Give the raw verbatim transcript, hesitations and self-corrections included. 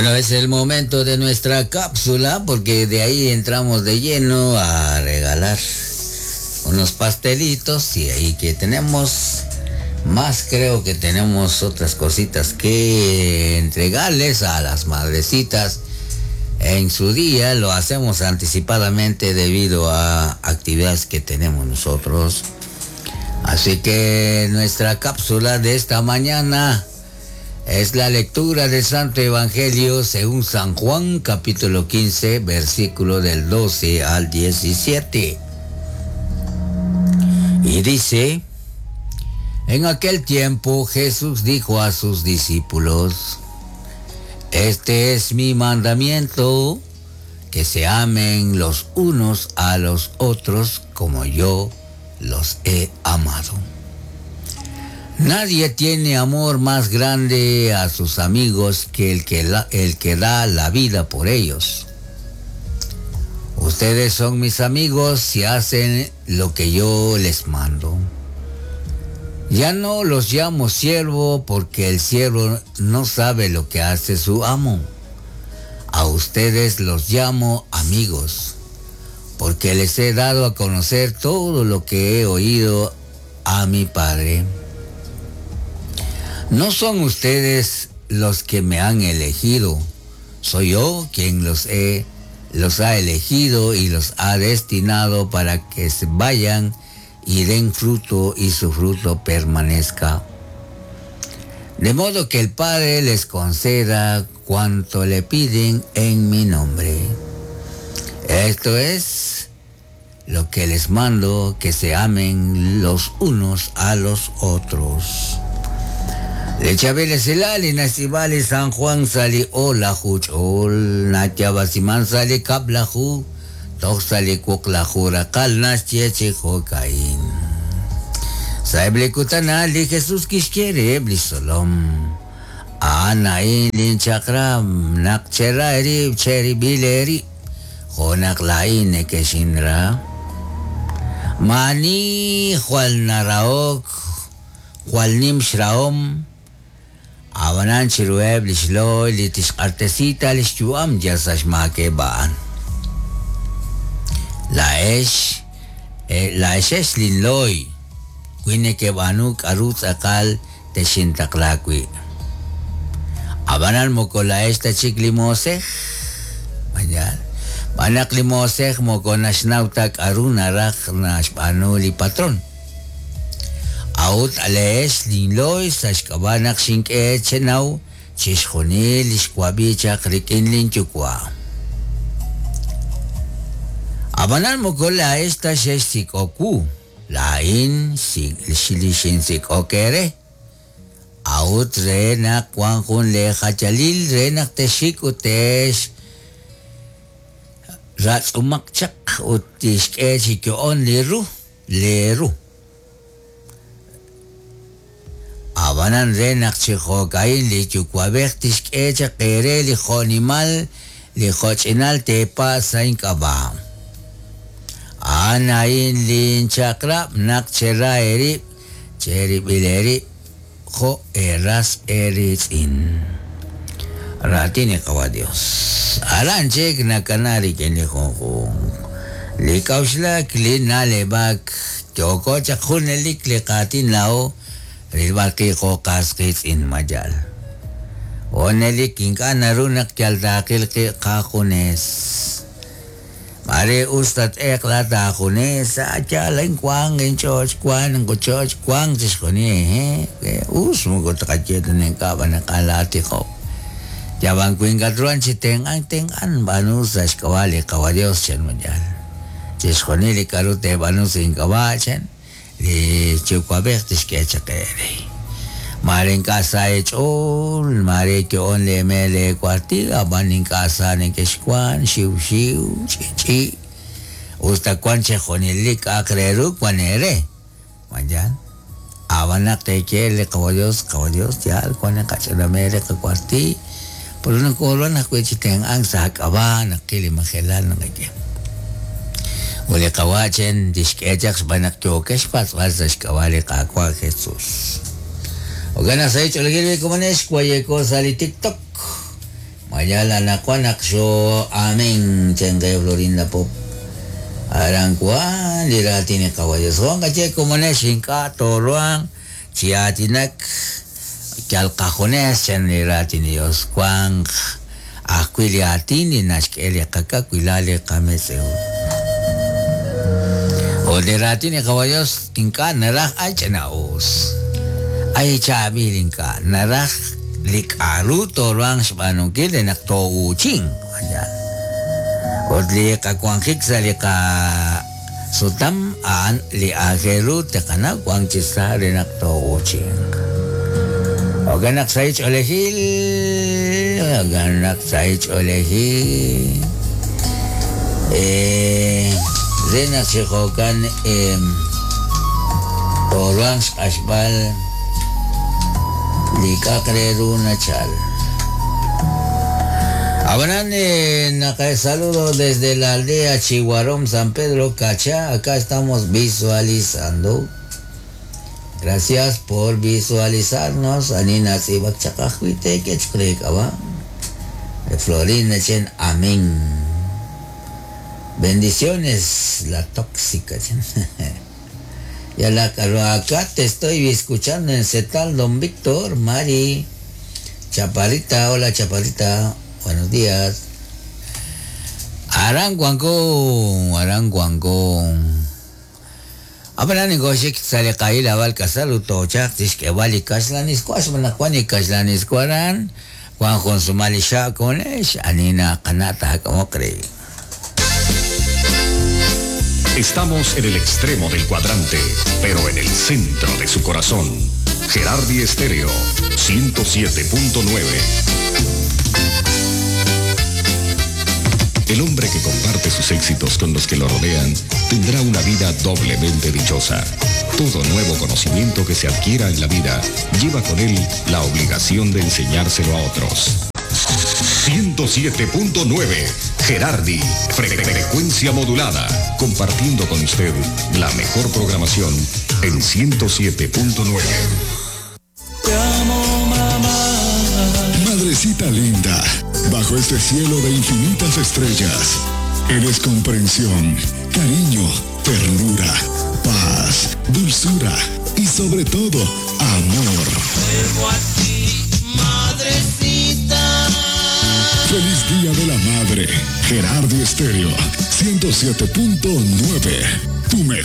Bueno, es el momento de nuestra cápsula porque de ahí entramos de lleno a regalar unos pastelitos y ahí que tenemos más, creo que tenemos otras cositas que entregarles a las madrecitas en su día. Lo hacemos anticipadamente debido a actividades que tenemos nosotros. Así que nuestra cápsula de esta mañana es la lectura del Santo Evangelio según San Juan, capítulo quince, versículo del doce al diecisiete. Y dice: en aquel tiempo Jesús dijo a sus discípulos: este es mi mandamiento, que se amen los unos a los otros como yo los he amado. Nadie tiene amor más grande a sus amigos que el que, la, el que da la vida por ellos. Ustedes son mis amigos si hacen lo que yo les mando. Ya no los llamo siervo porque el siervo no sabe lo que hace su amo. A ustedes los llamo amigos, porque les he dado a conocer todo lo que he oído a mi Padre. No son ustedes los que me han elegido, soy yo quien los he, los ha elegido y los ha destinado para que se vayan y den fruto y su fruto permanezca. De modo que el Padre les conceda cuanto le piden en mi nombre. Esto es lo que les mando, que se amen los unos a los otros. Lechabele silali nasibali San Juan sali ola huchol natyabasiman sali kablahu toxali kuklahura kalnas chechejokain. Saeble kutanali Jesús kishkere blisolom. Anain linchakram nakcheraeri cheribileri jonaklain ekeshinra. Mani jual naraok jual nimshraom. Abanan chirueb lishloy litishqartesita lishuam yasashmakebaan. La esh, eh, la eshesh linloy, kuinekebanu karutz akal teshintaklakwi. Abanan moko la esta chiklimosej, mañal. Banak limosej moko nashnautak aruna raj nashpanuli patrón. Aut alesh linloy sashkabanak shinke chenau chishjonil ishkuabichak rikinlin chukwa. Abanan moko la esta sheshikoku, la in shilishinsikokere. Aut renak wanjun le hachalil renak teshik utesh ratsumakchak utishke chikyoon liru leru. Abanan renak chijokain li chukwabej tishkecha kere li jonimal li jochinal tepa sainkaba. Anain linchakrap nak chera eri cheribileri jo eras eritzin. Ratini kawa Dios. Aranchek nakanari keni jonjun. Li kaushlak li nalebak yokocha junelik li katin lao. Rilbarki qoqas in majal. Onelik inkana runak yaldakil qaqunes. Mare ustat ekla taqunes, achalan kwang en choch kwan en choch kwang tishkoni eh. Us mugo takachet nen kaban kalati ko. Yaban kwingatruan chitengan tengan banus ashkawali kawadios chen majal. Tishkoni li karute banus inkabachen. Li chukwabej tishkechakere. Maren casa echol, mare que on le mele cuartiga, van en casa en quechcuan, shiu shiu, chi chi. Usta cuanche jonilik akreru cuanere. Mayan. Abanak te quiere, caballos, caballos, ya, cuan cachanamere, cuarti. Por una corona, cuechiten ansa, cabana, kilimajelan, no Ule kawachen dishkechak banak chokesh paswasas kawali kakwa Jesús. Ogana sa hecho le quiere como es cuaye cosa li TikTok. Mayala anaqwan naq xo amén chenqe Florinda Pop. Aran kwan li raatin li Qawa' Dios. Juan kache komonex ink'a' tooruhanq chi aatinak yal qajunes chan li raatin li Dios. Wanq ajwi' li aatin li naxk'e li qakawilal li qametz'ew. Ut li raatin li Qawa' Dios ink'a' naraj ay ch'ina'us. Ay chaab'il ink'a' naraj li k'a'ru tooruhanq xb'aanunkil re naq to'uuchinq. Ut li qawanjik sa' li qasutam a'an li aajel ru taqanaw wank chi sa' re naq to'uuchinq. Jo'kan naq sa' ch'oolejil, jo'kan naq sa' ch'oolejil. Eh, re naq chi jo'kan eh, tooruhanq xq'axb'al li k'a'aq re ru nachal. Abanan, eh, saludo desde la aldea Chihuarón, San Pedro Cachá. Acá estamos visualizando. Gracias por visualizarnos. Anina Sibak Chakajuite, Quechcrecaba. Florinda Chen, amén. Bendiciones, la tóxica. Ya la acá te estoy escuchando en Cetal, don Víctor, Mari, Chaparrita, hola Chaparrita. Buenos días. Aranguango, Aranguango. Apanan goshik saliqayil awal kasalu tochaq tixk'ewal kaxlaniskuax manaqwan kaxlaniskuaran Juan Jonsumali xakonex anina qanata hak'amoqri. Estamos en el extremo del cuadrante, pero en el centro de su corazón. Gerardi Estéreo, ciento siete punto nueve. El hombre que comparte sus éxitos con los que lo rodean tendrá una vida doblemente dichosa. Todo nuevo conocimiento que se adquiera en la vida lleva con él la obligación de enseñárselo a otros. ciento siete punto nueve Gerardi, frecuencia modulada, compartiendo con usted la mejor programación en ciento siete punto nueve. Te amo, mamá. Madrecita linda, bajo este cielo de infinitas estrellas, eres comprensión, cariño, ternura, paz, dulzura y sobre todo, amor. Vuelvo a ti, madrecita. Feliz Día de la Madre. Gerardi Estéreo, ciento siete punto nueve. Tu mejor.